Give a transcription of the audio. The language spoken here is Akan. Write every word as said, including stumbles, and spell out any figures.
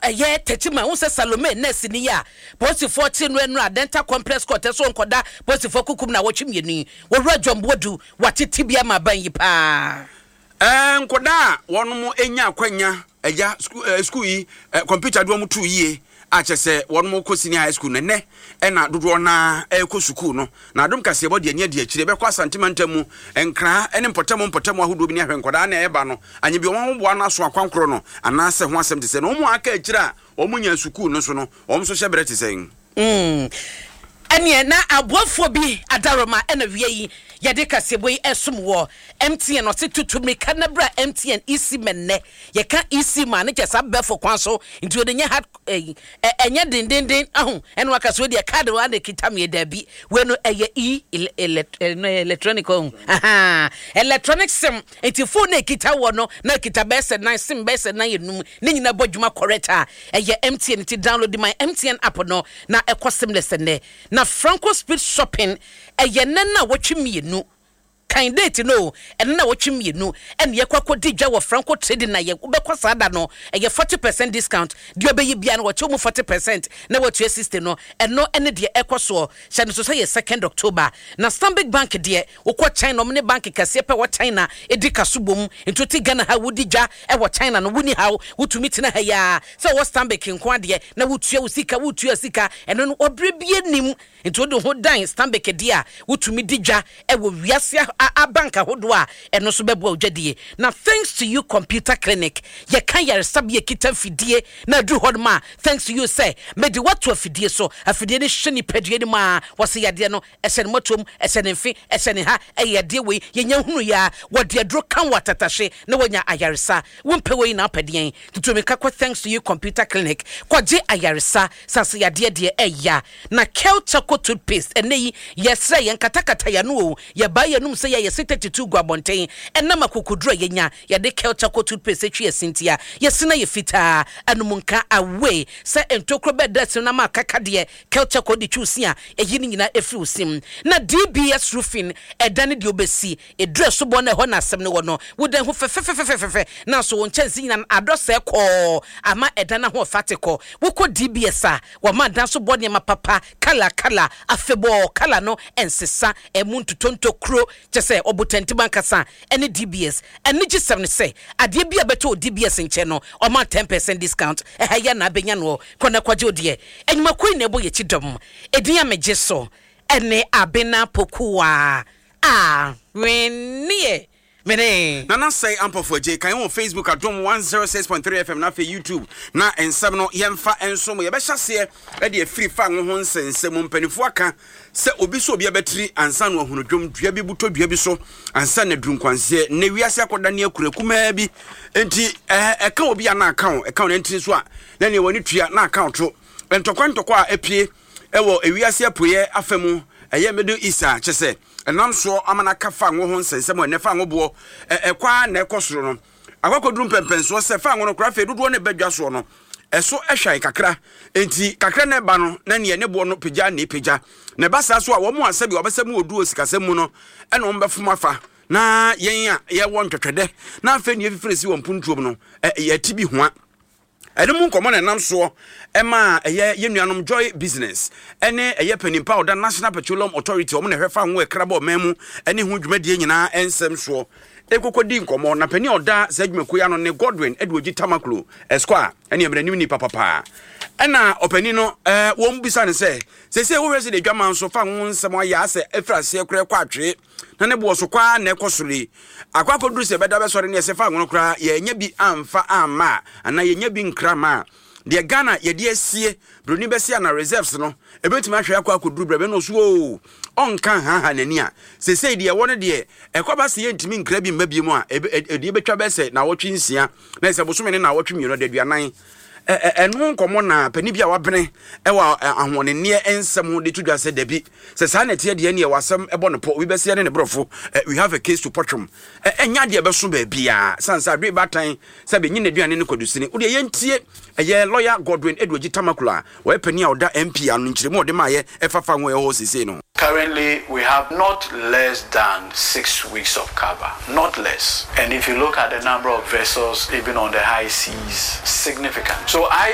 Ɛyɛ Techiman ho sɛ Salome nurse ni a polisifoɔ kye no ɛno a Dental Complex Court ɛso nkɔda polisifoɔ kukum na wɔtwe mmienu yi. Wɔwura John Boadu watete bi ama aban yi paa. Ɛɛ nkɔdaa a wɔn anya akwanya ɛgya sukuu ɛɛ sukuu yi ɛ kɔmputa de wɔn to yie a kyɛ sɛ wɔn kɔ senior high school no, nnɛ ɛna dodoɔ naa ɛrekɔ sukuu no. Na Adom Kaseɛbɔ deɛ ani adi akyire bɛkɔ Asantema ntam mu Nkraa ne mpɔtam mpɔtam ahodoɔ bi ne ahwɛ nkɔdaa na ɛreba no anya bi wɔn ahoboa no aso akwankorɔ no anaasɛ ho asɛm te sɛ na wɔn a aka akyire a wɔn nya sukuu no so no, wɔn nso hyɛ berɛ te sɛn. Mm. Ɛneɛ na aboafoɔ bi adaroma ɛna wia yi yɛde kaseɛbɔ yi ɛsom wɔ M T N. Ɔse tutu mmirika na bra M T N eSIM. Ɛnnɛ yɛka eSIM a, ne kyɛ saa bɛfo kwan so nti wɔde nyɛ hard ɛyi ɛnyɛ dendenden aho ɛna waka so deɛ card wa na kita mi. Daabi, wei no ɛyɛ e electronic ɔho, electronic SIM, nti phone na ekita wɔ no na ekita bɛyɛ sɛ nan SIM, bɛyɛ sɛ nan enum ne nyinaa bɔ dwuma correct a ɛyɛ M T N. Ti download my M T N app no na ɛkɔ seamless. Nnɛ na Franco Speed Shopping ɛyɛ nɛ na wɔtwe mmienu kan date no, ɛno na wɔtwe mmienu ɛna yɛkɔ akɔdi dwa wɔ Franco Trading na yɛ wobɛkɔ saa da no ɛyɛ forty percent discount. Deɛ ɔbɛyi bia no wɔkyɛ mu forty percent na wɔtua sixty no. Ɛno ɛne deɛ ɛkɔ soɔ hyɛ no so sɛ yɛ second October. Na Stanbic Bank deɛ, wokɔ China, ɔmo ne bank kɛseɛ pɛ wɔ China ɛdi kaso bom, nti wote Ghana ha wodi dwa ɛwɔ China no, woni haw, wotumi tena ha yaa sɛ wɔwɔ Stanbic nko adeɛ na wotua wo sika, wotua sika ɛno no ɔberɛ bie nim, nti wode ho dan Stanbic deɛ a wotumi di dwa ɛwɔ wiase abank ahodoɔ a ɛno nso bɛboa wo dwadie. Na Thanks to You Computer Clinic, yɛka yaresabea kita mfidie na aduru hɔ nom a, Thanks to You sɛ mede woato afidie so, afidie no hwɛ nipadua no mu a wɔsɛ yadeɛ no ɛhyɛ ne mmɔtoam, ɛhyɛ ne mfe, ɛhyɛ ne ha, ɛyɛ yadeɛ wei yɛnya hunu yɛ a wɔde aduro ka wɔ atatahye na wɔnya ayaresa. Wompɛ wei na apɛdeɛn tutumi ka kɔ Thanks to You Computer Clinic kɔgye ayaresa sase yadeɛ deɛ ɛya. Na Kel Charcoal Toothpaste, ɛnɛ yi yɛsrɛ yɛn katakata yɛn o, yɛbaa yɛnum sɛ yɛyɛ se thirty-two gu abɔnten ɛnam akokoduro a yɛnya yɛde Kel Charcoal Toothpaste atwi yɛ sintia yɛsena yɛ fitaa anum nka away sɛ ntokuro bɛda sin na ma akaka deɛ Kel Charcoal de twi si a ɛyi ne nyinaa ɛfiri wo sim. Na D B S Roofing, ɛda ne deɛ wobɛsi ɛduru ɛsobɔ no ɛhɔ na asɛm no wɔ no wodan ho fɛfɛfɛfɛfɛ na so wo nkyɛnse nyinaa adɔ sɛ kɔɔ ama ɛda no ho ɔfa te kɔ. Wokɔ D B S a wɔma dan so bɔ nneɛma papa colour colour afebɔɔ colour no ɛnsesa ɛmu ntotonto kuro kyɛ sɛ ɔbotantim ankasa ɛne D B S. Ɛne gye sɛm no sɛ adeɛ bi a bɛtɔ wɔ D B S nkyɛn no ɔma ten percent discount. Ɛha yɛ na abɛnya no kɔ na kɔgye wo deɛ. Enyumakuo yi na ɛbɔ yɛkyi dɔm ɛdin a megye so ɛne Abena Pokuwa a wenneɛ mene. Nana Sɛe Ampɔfo Agye kan wɔ Facebook Adom one oh six point three F M na afei YouTube na nsɛm no yɛmfa nso mo yɛbɛhyɛ aseɛ ɛde afiri fa ngo ho nsɛnsɛm mu. Mpanimfoɔ aka sɛ obi so obi abɛtiri ansa na wahunu dwom dua bi butɔ dua bi so ansa na duru nkwanseɛ. Nnɛ wiase akɔda ne akura kumaa bi nti ɛɛ ɛka obi a na aka wo, ɛka wo nantiri so a na nea w'ani tua na aka wo to. Ntɔkwa ntɔkwa a apue ɛwɔ ewiase apueɛ afa mu, ɛyɛ Middle East a kyɛ sɛ ɛnam soɔ ama no aka fa ngo ho nsɛnsɛm a ɛnɛ fa ngo boɔ ɛkɔ a na ɛkɔ soro no akɔkɔduru mpɛmpɛnsoɔ sɛ fa ngo no koraa afei dodoɔ no ɛbɛdwa soɔ no ɛso ɛhwan kakra, nti kakra na ɛba no na neɛ ne boɔ no pagya na ɛpagya na ɛba saa so a wɔn a sɛbi wɔbɛsɛ mu wɔ sikasɛm mu no ɛna wɔn bɛfom afa na yɛn a yɛwɔ ntwɛtwɛdɛ na afei neɛ fifiri si wɔn mpuntuom no yɛti bi hoa. Ɛno mu nkɔmmɔ na ɛnam soɔ ɛma ɛyɛ yɛn nuanom Joy Business ɛne ɛyɛ panimpa a ɔda National Petroleum Authority, ɔmo na ɛhwɛ fa ho ɛkra bɔ ɔman mu ɛne ho dwumadie nyinaa ɛnsɛm soɔ ɛkɔkɔ di nkɔmmɔ. Na panin a ɔda saa dwumakuo yi ano ne Godwin Edward Tamaklo Esquire, ɛne ɛmmerɛnim nipa papaa. Ɛna ɔpanin no ɛɛ wɔn bisa ne sɛ sɛsɛ wohwɛ sɛ de adwama nso fa ho nsɛm ayɛ asɛ ɛfiri aseɛ koraa kɔ atwee na ne boɔ so kwaa na ɛkɔ soro yi akɔ akɔduru sɛ ɛbɛda bɛsɔre ne ɛsɛ fa ngo no koraa yɛnya bi amfa amma a anaa yɛnya bi nkra ma a deɛ Ghana yɛde asie buroni bɛsi ana reserves no ɛbɛtumi ahwɛ akɔ akɔduru brɛ bɛ no so o ɔnka haha n'ani a sesei deɛ ɛwɔ no deɛ ɛkɔ ba sɛ yɛntumi nkra bi mma bi mu a ɛdeɛ bɛtwa bɛ sɛ naawɔtwe nsia na ɛsɛ bosome ne naawɔtwe mmienu de aduanan. Ɛno nkɔmmɔ na panin bi a wabene ɛwɔ ahoɔdenneɛ nsɛm ho de to dwa sɛ dabi, sɛ saa na ɛteɛ deɛ neɛ wasɛm ɛbɔ no pɔ obi bɛseɛ ne ne borɔfo, "We have a case to pɔtwom." Ɛnyɛ adeɛ ɛbɛso baabiaa sane sɛ adoe baatan sɛ bɛnyi n'aduane ne kwadusini. Wodeɛ yɛntie ɛyɛ lawyer Godwin Edward Tamaklo a wɔyɛ panin a ɔda M P ano nkyerɛmu a ɔde maayɛ ɛfa fa ho ɛwɔ hɔ seesei no. Currently, we have not less than six weeks of cover, not less. And if you look at the number of vessels, even on the high seas, significant. So I